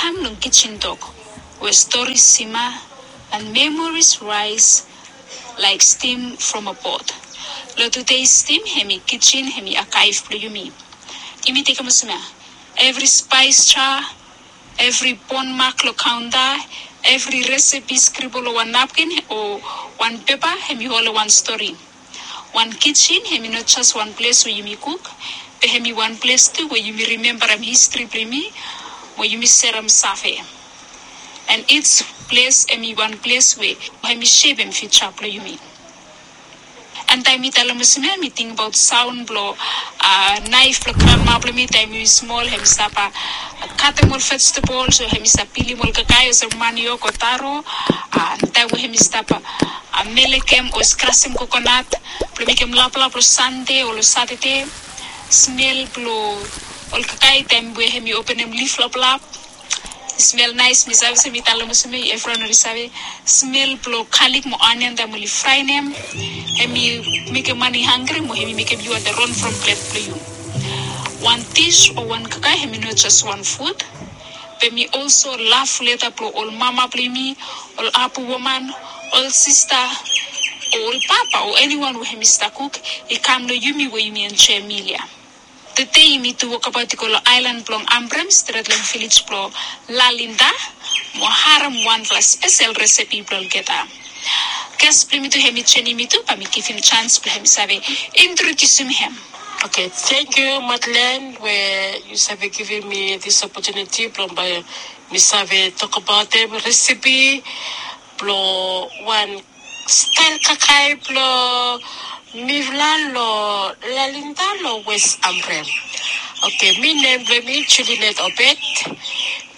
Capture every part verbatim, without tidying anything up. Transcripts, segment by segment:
Long kitchen tok we stories simmer and memories rise like steam from a pot. Long today's theme, hemi kitchen, hemi archive blong yumi. Yumi tekem olsem ya, evri spice jar, evri bone mark long counter, evri recipe scribble long wan napkin o wan pepa, hemi ol wan stori. Wan kitchen hemi no jes wan ples we yumi kuk, be hemi wan ples tu we yumi rimembarem histori blong yumi, we yumi serem save. And each ples hemi wan ples we hemi shepem future blong yumi. And taem mi talem olsem ya, mi tingbaot saon blong naef blong granma blong mi taem mi smol, hemi stap katem ol vegetables, o hemi stap pilim ol kakae olsem maniok o taro. And taem we hemi stap melekem o skrasem kokonat blong mekem laplap long Sande o long Satade. Smel blong ol kakae taem we hemi openem lif laplap, i smel naes. Mi save se mi talem olsem ya, evriwan oli save smel blong galik mo onion taem oli fraenem, hemi mekem man i hangri mo hemi mekem yu wantem ron from plet blong yu. Wan dish o wan kakae hemi no jes wan food, be hemi also love letter blong ol mama blong yumi, ol abu woman, ol sista, o ol papa, o eniwan we hemi stap kuk i kam long yumi we yumi enjoem mil ya. Tede yumi tu wokbaot i go long aelan blong Ambrym, stret long vilej blong Lalinda, mo harem wanfala spesel recipe blong olgeta. Ges blong yumi tu hemi joenem yumi tu, bae mi givim janis blong hemi save introdiusim hem. Oke, tangkiu Madeleine we yu save givim mi dis opotuniti blong bae mi save tokbaotem recipe blong wan stael kakae blong mifala long Lalinda long West Ambrym. Oke, mi nem blong mi Julinet Obed.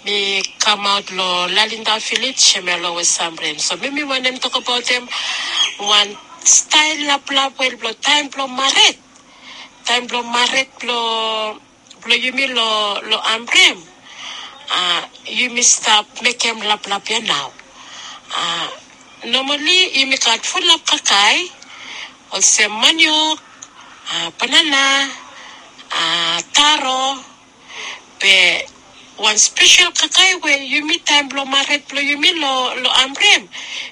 Mi kamaot long Lalinda vilej, hemia long West Ambrym. So mi mi wantem tokbaotem wan stael laplap we blong taem blong mared. Taem blong mared blong blong yumi long Ambrym, yumi stap mekem laplap ya nao. Nomali yumi gat fulap kakae olsem maniok, banana, taro. Be wan spesel kakae we yumi taem blong mared blong yumi long Ambrym,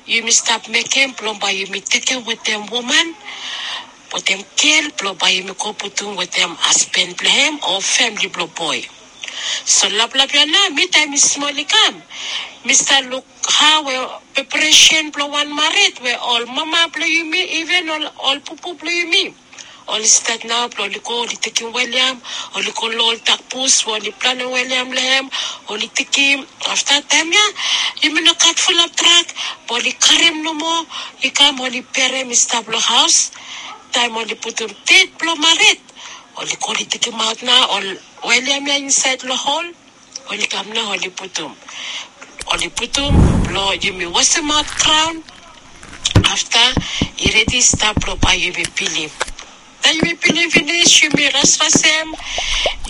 yumi stap mekem blong bae yumi tekem wetem woman, wetem gel blong bae yumi go putum wetem hasben blong hem o famili blong boe. So laplap ya nao, mi taem mi smol i kam, mi stap luk hao we preparesen blong wan mared we ol mama blong yumi, iven ol pupu blong yumi, oli stat nao blong oli go oli tekem wel yam, oli go long ol takbus we oli planem wel yam long hem, oli tekem. Afta taem ya yumi no gat fulap trak, be oli karem nomo i kam, oli berem i stap long haos. Taem oli putum det blong mared, oli go oli tekemaot nao ol wel yam ya insaed long hol. Oli kam nao oli putum, oli putum blong yumi wasemaot graon. Afta i redi stap blong bae yumi pilim. Taem yumi pilim finis, yumi rasrasem,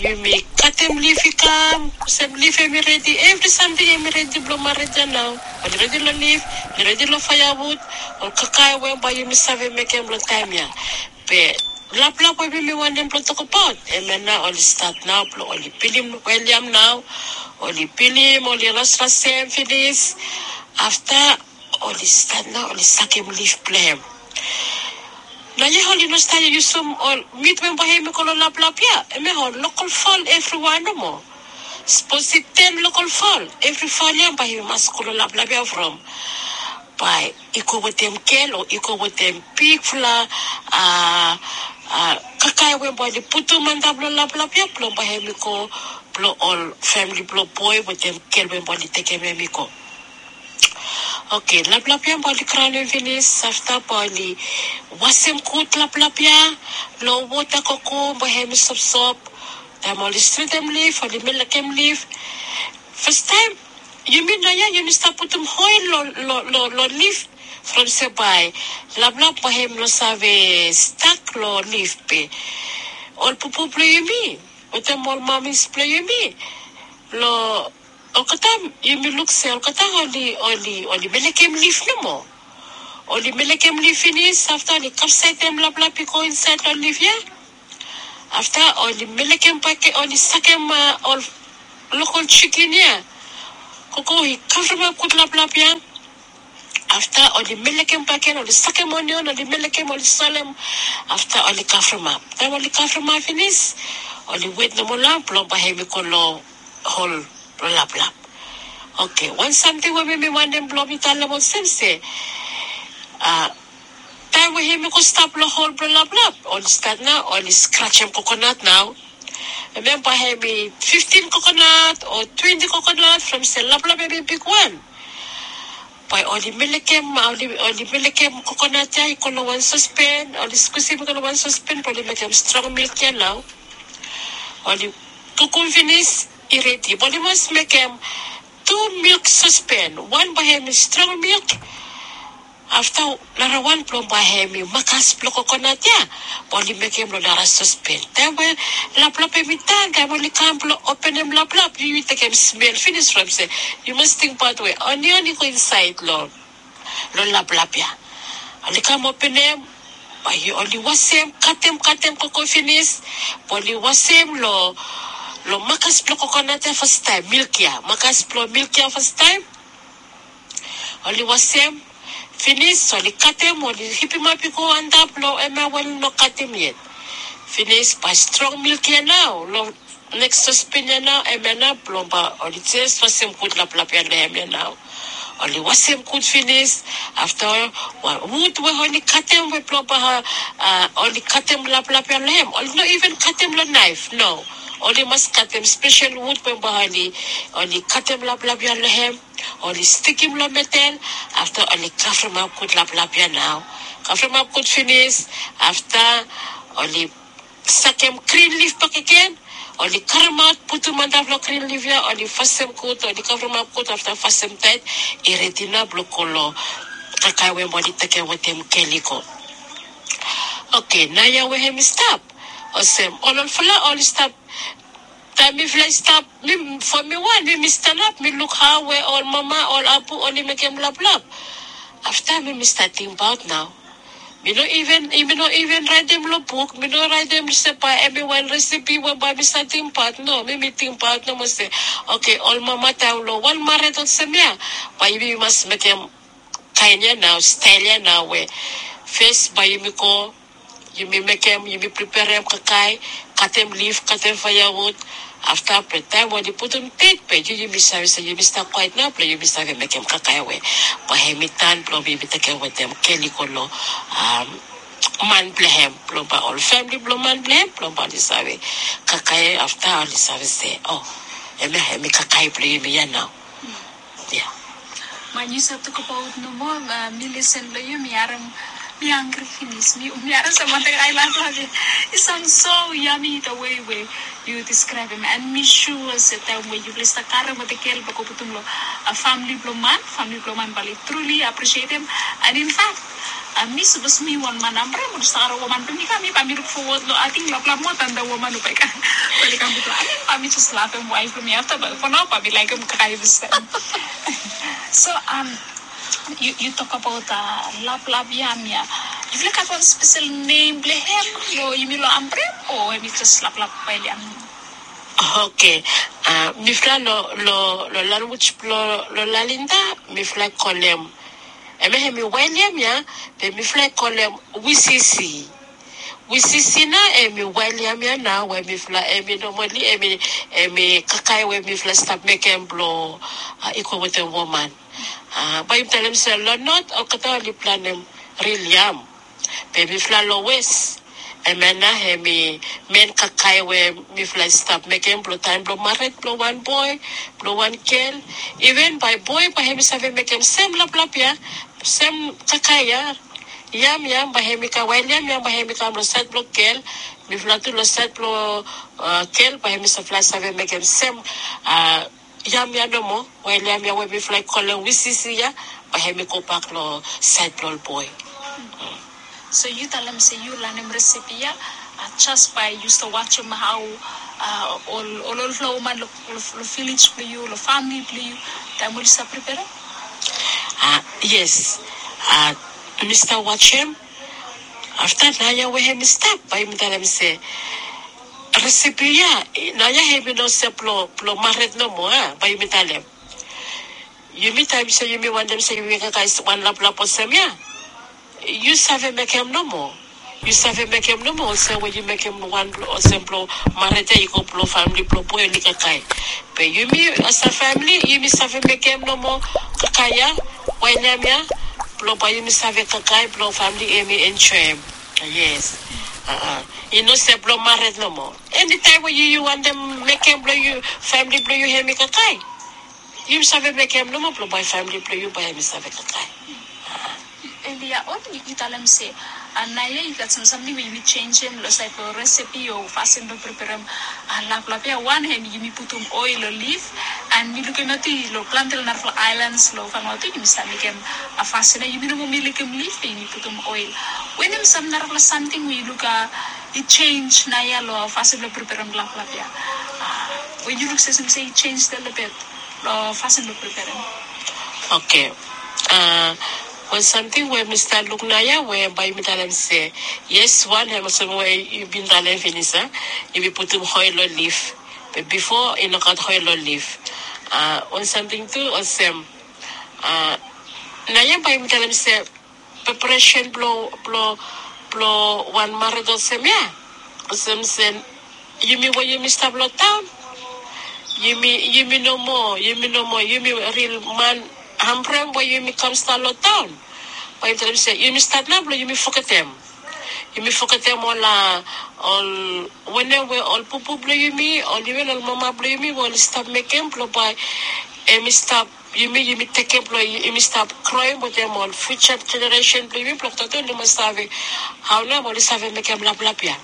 yumi katem lif i kam olsem lif hemi redi, evri samting hemi redi blong mared ya nao. Oli redi long lif, oli redi long faeawud, ol kakae we bae yumi save mekem long taem ya. Be laplap we mi wantem blong tokbaot, hemia nao oli stat nao blong oli pilim wel yam nao. Oli pilim, oli rasrasem finis. Afta oli stat nao oli sakem lif blong hem. Naoia oli no stat yusum ol mit we bae hemi go long laplap ya, hemia ol lokol fal evriwan nomo. Sapos i ten lokol fal, evri fal ya bae i mas go long laplap ya from bae i go wetem gel o i go wetem bigfala kakae we bae oli putum antap long laplap ya blong bae hemi go blong ol famili blong boe wetem gel we bae oli tekem hemi go. Oke, laplap ya bae oli graonem finis, afta bae oli wasem gud laplap ya long wota koko bae hemi sopsop. Taem oli stretem lif, oli melekem lif. Fastaem yumi naoia yumi stap putum oel long lif from se bae laplap bae hem no save stak long lif. Be ol pupu blong yumi wetem ol mamis blong yumi long olgeta, yumi luk se olgeta oli, oli, oli melekem lif nomo. Oli melekem lif finis, afta oli kapsaetem laplap i go insaed long lif ya. Afta oli melekem bake, oli sakem ol lokol jikin ya. Koko i kavremap gud laplap ya. Afta oli melekem bakegen, oli sakem onion, oli melekem, oli solem. Afta oli kavremap. Taem oli kavremap finis, oli wet nomo nao blong bae hemi go long hol blong laplap. Oke, wan samting we mi wantem blong mi talem olsem se, a, taem we hemi go stap long hol blong laplap, oli stat nao, oli skrajem kokonat nao. Memba hemi fiftin kokonat o twenti kokonat from se laplap hemi bigwan. Bae oli melekem, oli, oli melekem kokonat ya i go long wan sospen, oli skusim i go long wan sospen, bae oli mekem strong milk ya nao. Oli kukum finis, i redi. Bae oli mas mekem tu milk sospen. Wan bae hemi strong milk, afta narawan blong bae hemi makas blong kokonat ya, bae oli mekem long nara sospen. Taem we laplap hemi tan, taem oli kam blong openem laplap, yu, yu tekem smel finis from se, yu mas tingbaot we onion i go insaed long, long laplap ya. Oli kam openem, bae oli wasem, katem, katem koko finis, bae oli wasem long, long makas blong kokonat ya fastaem, milk ya, makas blong milk ya fastaem. Oli wasem finis, oli katem, oli hipimap i go antap long hemia we oli no katem yet. Finis, bae strong milk ya nao long neks sospen ya nao, hemia nao blong bae oli jes wasem gud laplap ya long hemia nao. Oli wasem gud finis, afta wan wud we oli katem we blong bae, a, oli katem laplap ya long hem. Oli no iven katem long naef, no. Oli mas katem spesel wud we bae oli, oli katem laplap ya long hem. Oli stikim long medel, afta oli kavremap gud laplap ya nao. Kavremap gud finis, afta oli sakem grin lif bakegen, oli karemaot, putum antap long grin lif ya, oli fasem gud, oli kavremap gud, afta fasem taet, i redi nao blong go long kakae we oli tekem wetem gel i go. Oke, naoia we hemi stap olsem, ol, olfala oli stap. Taem mifala i stap, mi, from mi wan, mi, mi stanap, mi luk hao we ol mama, ol apu oli mekem laplap. Afta mi, mi stat tingbaot nao. Mi no iven, mi no iven raetem long buk, mi no raetem se bae hemi wan resepi we bae mi stat tingbaot, no, mi, mi tingbaot nomo se, oke, ol mama taem long wan mared olsem ya, bae yumi mas mekem kaen ya nao, stael ya nao we fes bae yumi go, yumi mekem, yumi preperem kakae, katem lif, katem faeawud. Afta be taem we oli putum deit be, yu, yumi save se yumi stap kwaet nao blong yumi save mekem kakae we bae hemi tan blong yumi tekem wetem gel i go long, a, man blong hem, blong bae ol famili blong man blong hem, blong bae oli save kakae, afta oli save se, o, hemia hemi kakae blong yumi ya nao. Ya. Man, yu save tokbaot nomo, a, mi lisen long yu, mi harem, mi hangri finis. Mi, mi harem sam wantaem kakae laplap ya. I saon so yami the way we yu deskraebem. And mi sua se taem we yufala i stap karem wetem gel bae go putum long, a, famili blong man, famili blong man bae oli truly aprisietem. And in fact, a, mi sapos mi wan man hambre, mi stap karem woman blong mi kam, mi bae mi luk fowod long, ating laplap moa dan da woman we bae i kam, bae oli kam bifo. A, mi bae mi jes lavem waef blong mi afta, be for nao bae mi laekem kakae olsem. So, am, yu, yu tokbaot, a, laplap yam ya. Yufala i gat wan spesel nem blong hem long yumi long Ambrem, o hemi jes laplap wael yam? Oke. A, mifala long, long, long lanwis blong, long Lalinda, mifala i kolem, hemia hemi wael yam ya, be mifala i kolem wisisi. Wisisi nao hemi wael yam ya nao we mifala, hemi nomali, hemi, hemi kakae we mifala i stap mekem blong, a, i go wetem woman. A, bae yumi talem se long not olgeta oli planem ril yam. Be mifala long wes, hemia nao hemi men kakae we mifala i stap mekem blong taem blong mared blong wan boe, blong wan gel. Iven bae boe bae hemi save mekem sem laplap ya, sem kakae ya, yam ya, bae hemi kam, wael yam ya bae hemi kam long saed blong gel. Mifala tu long saed blong, a, gel bae hemi save, save mekem sem, a, yam ya nomo, wael yam ya we mifala i kolem wisisi ya, bae hemi gobak long saed blong ol boe. So yu talem se yu lanem resepi ya, a, jes bae yu stap wajem hao, a, ol, ol, olfala woman long, long, long vilej blong yu, long famili blong yu, taem oli stap preperem? A, yes. A, mi stap wajem. Afta naoia we hemi stap, bae yumi talem se resepi ya, naoia hemi no se blong, blong mared nomo, a, bae yumi talem. Yumi taem se yumi wantem se yumi kakae wan laplap olsem ya, yu save mekem nomo. Yu save mekem nomo olsem we yu mekem wan blo olsem blo mared ya i go blo famle blo boe oli kakae. Be yumi olsem famle yumi save mekem nomo kakae ya, waen ya blo bae yumi save kakae blo famle hemi enjoem. Yes. I no se blo mared nomo. Enitaem we yu yu wantem mekem blo yu famle blo yu hemi kakae, yumi save mekem nomo blo bae famle blo yu bae hemi save kakae. Elia on yu talem se naoia i gat sam samting we yumi jenjem long saed blong resepi o fasin blong preperem laplap ya. Wan hem yumi putum oel long lif. And mi lukim ya tu long plante long narafala aelans long Vanuatu yumi save mekem fasin ya, yumi no moa milim lif be yumi putum oel. Wanem sam narafala samting we yu luk i jenj naoia long fasin blong preperem laplap ya? We yu luk se olsem se i jenj lelebet long fasin blong preperem. Oke. Wan samting we mi stap luk naoia we bae yumi talem se, yes, wan hem olsem we yu bin talem finis a, yumi putum oel long lif. Be bifo i no gat oel long lif. Wan samting tu olsem, naoia bae yumi talem se preparesen blong blong blong wan mared olsem ya, olsem se yumi we yumi stap long taon, yumi yumi no moa yumi no moa yumi ril man hambrem we yumi kam stap long taon. Bae yumi talem se yumi stat nao blong yumi fogetem. Yumi fogetem ol a ol wanem we ol pupu blong yumi ol iven ol mama blong yumi we oli stap mekem blong bae hemi stap yumi yumi tekem blong yumi stap kroem wetem ol fiuja jeneresen blong yumi blong tato oli mas save hao nao oli save mekem laplap ya.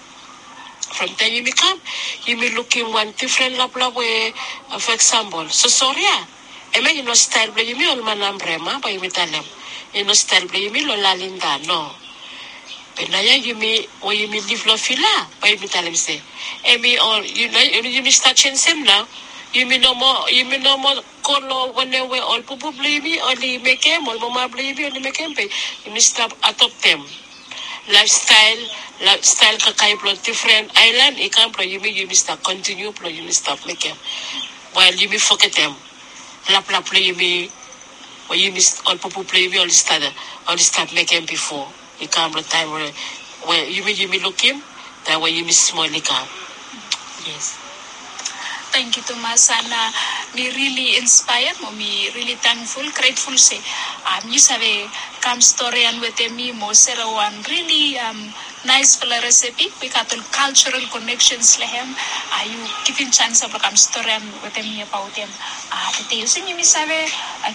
From taem yumi kam yumi lukim wan difren laplap we, for example, sosori ya. Hemia i no stael blong yumi ol man hambrem a bae yumi talem. I no stael blong yumi long lalinda no. Be naoia yumi we yumi lif long vila bae yumi talem se hemi ol yumi stat jenjem nao. Yumi no moa yumi no moa go long wanem we ol pupu blong yumi oli mekem ol mama blong yumi oli mekem be yumi stap adoptem laefstael, laefstael kakae blong difren aelan i kam blong yumi yumi stap kontiniu blong yumi stap mekem. Wael yumi fogetem laplap blong yumi we yumi ol pupu blong yumi oli stap mekem bifo i kam long taem we yumi yumi lukim taem we yumi smol i kam. Yes. Tangkiu tumas ana. Mi rili inspaea mo mi rili tangful gretful se yu save kam storian wetem mi mo sere wan rili naesfala resepi we i gat ol kaljeral koneksens long hem. Yu givim janis blong kam storian wetem mi abaot hem. Tede olsem yumi save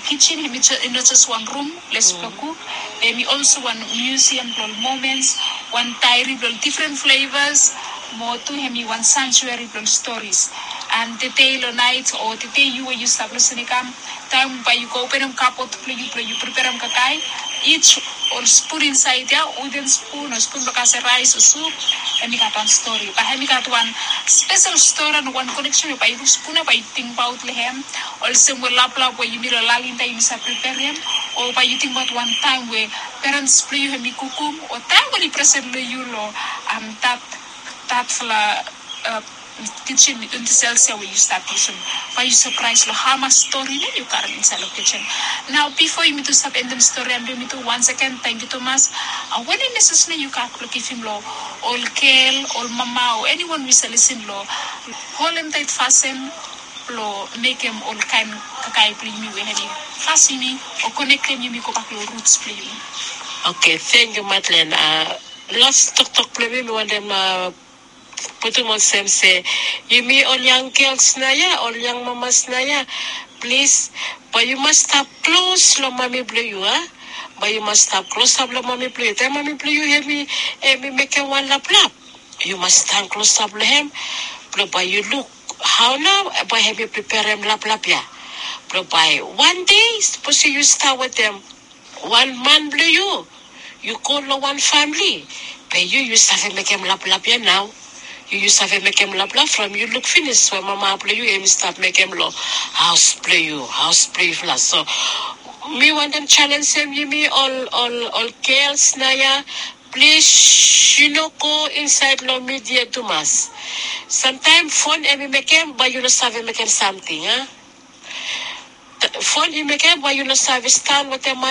kijin hem i no jes wan rum ples blong kuk, be hem i olsem wan miusiam blong ol momens, wan daeri blong ol difren flevas, mo tu hem i wan sanjueri blong ol storis. And tede long naet o tede yu we yu stap lisin i kam, taem bae yu go openem kabot blong yu blong yu preperem kakae, ij ol spun insaed ya, wuden spun o spun blong kasem raes o sup, hem i gat wan stori bae hem i gat wan spesel stori o wan koneksen we bae yu luk spun ya bae yu tingbaot long hem. Olsem we laplap we yumi long lalinda yumi save preperem, o bae yu tingbaot wan taem we perens blong yu hem i kukum o taem we oli present long yu long dat datfala kijin yuntisels ya we yu stap yusum, bae yu sapraes long hamas stori nao yu karem insaed long kijin. Nao bifo yumi tu stap endem stori ya blong yumi tu wan seken tangkiu tumas. Wanem mesej nao yu gat blong givim long ol gel ol mama o eniwan we i save lisin long holem taet fasin blong mekem ol kaen kakae blong yumi we hem i fasim yumi o konektem yumi gobak long ruts blong yumi? Oke, tangkiu Madlen. Las toktok blong mi mi wantem putum olsem se yumi ol yang gels naoia ol yang mamas naoia, plis, bae yu mas stap klos long mami blong yu a. Bae yu mas stap klosap long mami blong yu taem mami blong yu hem i mekem wan laplap, yu mas stan klosap long hem blong bae yu luk hao nao bae hem i preperem laplap ya blong bae wan dei sapos yu stap wetem wan man blong yu, yu go long wan famle, be yu yu save mekem laplap ya nao. Yu yu save mekem laplap from yu luk finis we mama blong yu hem i stap mekem long haos blong yu haos blong yufala. So mi wantem jalenjem yumi ol ol ol gels naoia, plis, yu no go insaed long midia tumas. Samtaem fon hem i mekem bae yu no save mekem samting a. Fon i mekem we yu no save stan wetem